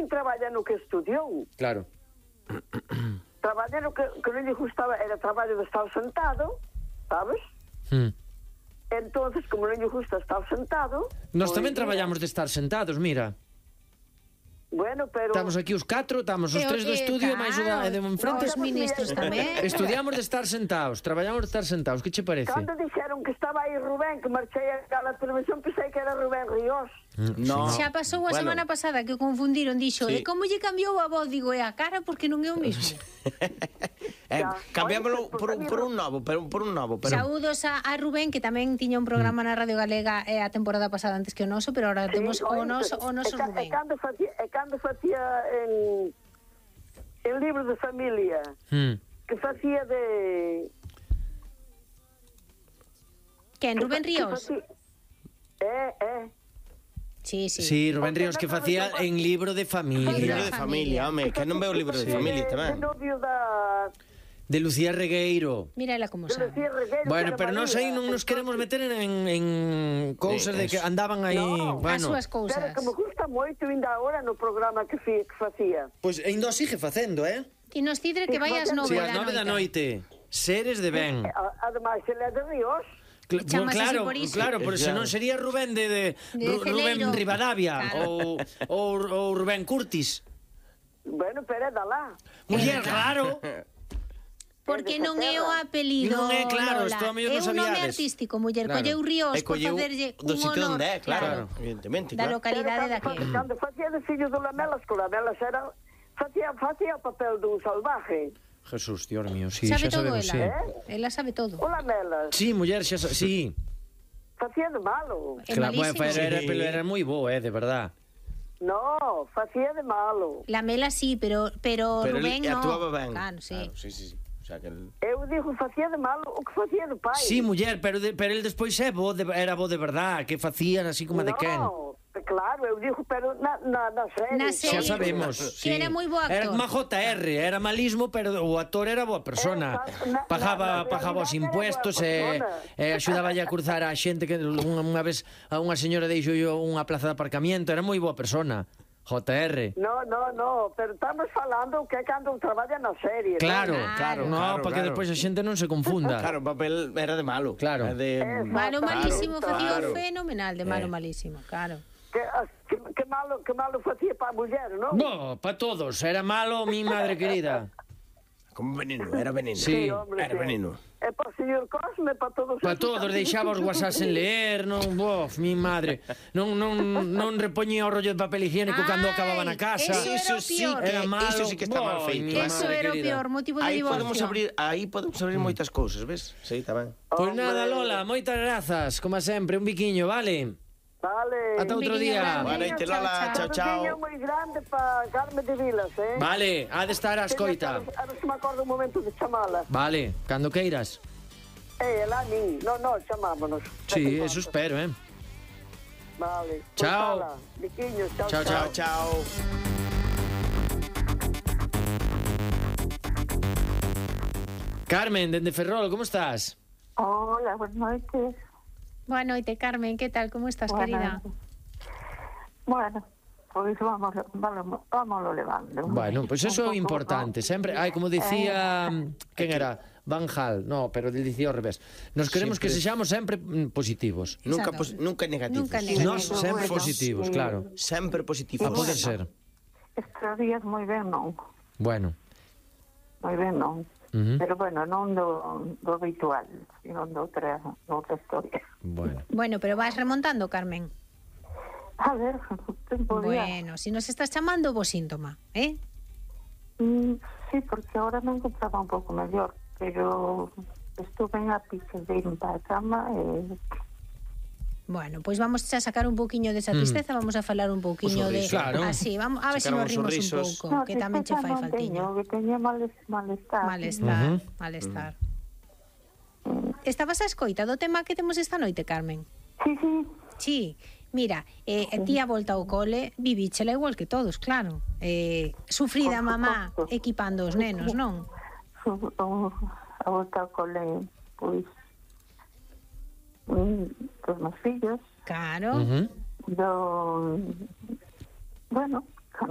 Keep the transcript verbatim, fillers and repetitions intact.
nin traballa no que estudiou. Claro. Traballa no que, que non lle gustaba, era traballo de estar sentado, sabes? Mm. Entonces, como non lle gusta estar sentado... Nós pois, tamén mira, traballamos de estar sentados, mira. Bueno, pero... Estamos aquí os catro, estamos os E o- tres do e, estudio, claro, máis o da e de enfrente. os ministros tamén. Estudiamos de estar sentados, traballamos de estar sentados. Que che parece? Cando dixeron que estaba aí Rubén, que marchei a la televisión, pensei que era Rubén Ríos. No. Xa pasou a Bueno. semana pasada que o confundiron, dixo, Sí. e como lle cambiou a voz, digo, é a cara porque non é o mismo. Eh, Ya. cambiámoslo Oye, por, pues, por un novo, por, por un novo. Pero... Saúdos a, a Rubén, que tamén tiña un programa na Radio Galega eh, a temporada pasada antes que o noso, pero ahora temos o noso, o noso e, ca- Rubén. E cando facía, e cando facía en, en libro de familia, Mm. que facía de... Quen, Rubén que Ríos? facía- Eh, eh. Sí, sí. Sí, Rubén Ríos que facía en libro de Libro familia. de familia, home, que non veo o libro de familia De, tamén. de novio da... De Lucía Regueiro. Mira ela como De sabe. Lucía Regueiro, Bueno, que era pero nós aí María. non nos queremos meter en, en cousas de que Eso. andaban aí, No. As bueno. súas Pero cousas. que me gusta moito ainda agora no programa que, fi, que facía. Pois ainda o sigue facendo, eh? E nos cidre que vai ás Sí, nove Si, da ás nove da noite. noite. Seres de ben. A- Ademais, ele é de Ríos. Cl- E chamase claro, así por iso. claro, pero se non sería Rubén de, de, De Ru- Rubén Celeiro. Rivadavia Claro. ou, ou, ou Rubén Curtis. Bueno, pero é da lá. Muller, claro. Porque non é o apelido, Non é, claro, Lola. isto a mellor É non un nome sabíades. artístico, muller. Claro. Colleu Ríos E por colleu facerlle do un sitio honor, onde é, claro, claro, evidentemente, da claro. localidade Pero daqui. cando, cando facía de fillo do Lamelas, que o Lamelas era... Facía, facía o papel dun salvaje. Jesús, Dios mío, sí, Sabe xa todo sabemos, ela. sí. Ela sabe todo. O Lamelas. Sí, muller, xa sa- sí. Facía de malo. É Claro, bueno, malísimo. pero era, Sí. pero era moi bo, eh, de verdad. No, facía de malo. La Mela sí, pero, pero, Pero Rubén ele no. actuaba ben. Claro, sí. Claro, sí, sí, sí. O sea, que el... Eu digo, facía de malo o que facía de pai. Sí, muller, pero, de, pero el despois é bo de, era bo de verdad, que facían así como de quen. No, claro, eu digo, pero na, na, na serie. Na Xa serie. sabemos, sí. Era moi bo actor. Era má J R, era malismo, pero o actor era boa persona. Eh, na- Pagaba, na- na pagaba os realidade era impuestos boa e, persona. e axudaballe a cruzar a xente que unha, unha vez a unha señora deixou yo unha plaza de aparcamiento, era moi boa persona. J R. No, no, no, pero estamos falando que é cando traballa na serie. Claro, ¿no? claro, no, claro, para que claro. despois a xente non se confunda. Claro, o papel era de malo. Claro. Era de... Malo malísimo, Claro, facía claro. fenomenal de malo Eh. malísimo, claro. Que, que, que malo, que malo facía para a muller, non? No, para todos, era malo, mi madre querida. Como veneno, era veneno. Sí. hombre, Era sí. veneno. É para o señor Cosme, para todos. Para esos todos, casos. deixaba os whatsapps en leer, non, bof, mi madre. Non, non, non repoñía o rollo de papel higiénico cando acababa na casa. Eso era o peor. Era malo. Eso sí que está mal Boy, feito. mi Eso madre era o querida. peor motivo de Aí divorcio. podemos abrir, aí podemos abrir moitas cousas, ves? Sí, está ben. Pois Hombre. nada, Lola, moitas grazas, como sempre, un biquiño, vale? Vale. Ata outro biquiño día. grande. Boa noite, Lola. Chao, Un chao. niño moi grande para Carmen de Vilas, eh? Vale, ha de estar a escoita. A ver se me acordo un momento de chamala. Vale, cando queiras. Eh, ela a min. No, no, chamámonos. Sí, eso espero, eh. Vale. Pois Chao. ala, biquiños, chao, Chao, chao. Chao, chao. Carmen, dende Ferrol, como estás? Hola, buenas noches. Boa noite, Carmen, que tal? Como estás, Buenas querida? noches. Bueno, pois vamos, vamos, vamos levando. Bueno, pois pues eso é Un pouco, importante. ¿no? Sempre, ai, como dicía, quen era? Van Hal, no, pero dicía ao revés. Nos queremos que Sempre. sexamos sempre mm, positivos. Nunca, Exacto. pos- nunca negativos. Nunca negativos. Nós sempre bueno, positivos, sí. claro. Sempre positivos. A poder ser. Estes días moi ben non, Bueno. moi ben non. Ujú. Pero bueno, non do, do habitual, sino do outra, do outra historia. Bueno. Bueno, pero vas remontando, Carmen. A ver, tempo día. Bueno, si nos estás chamando, bo síntoma, eh? Mm, sí, porque ahora me encontraba un pouco mellor, pero estuve en ápice de ir para a cama e... Bueno, pois vamos a sacar un pouquiño desa tristeza, vamos a falar un pouquiño de... sorriso. Claro. Así, vamos a ver se Sacar nos uns rimos un sorrisos. pouco, que tamén che tristeza fai non faltiño. teño, que teña males, malestar. Malestar, Ujú. malestar. Estabas a escoita do tema que temos esta noite, Carmen? Sí, sí, Sí, mira, eh, ti a volta ao cole vivíchela igual que todos, claro. Eh, sufrida Por mamá suposto. equipando os nenos, non? su- o- a volta ao cole, pois, mm, dos meus fillos, Claro. Ujú. do... Bueno,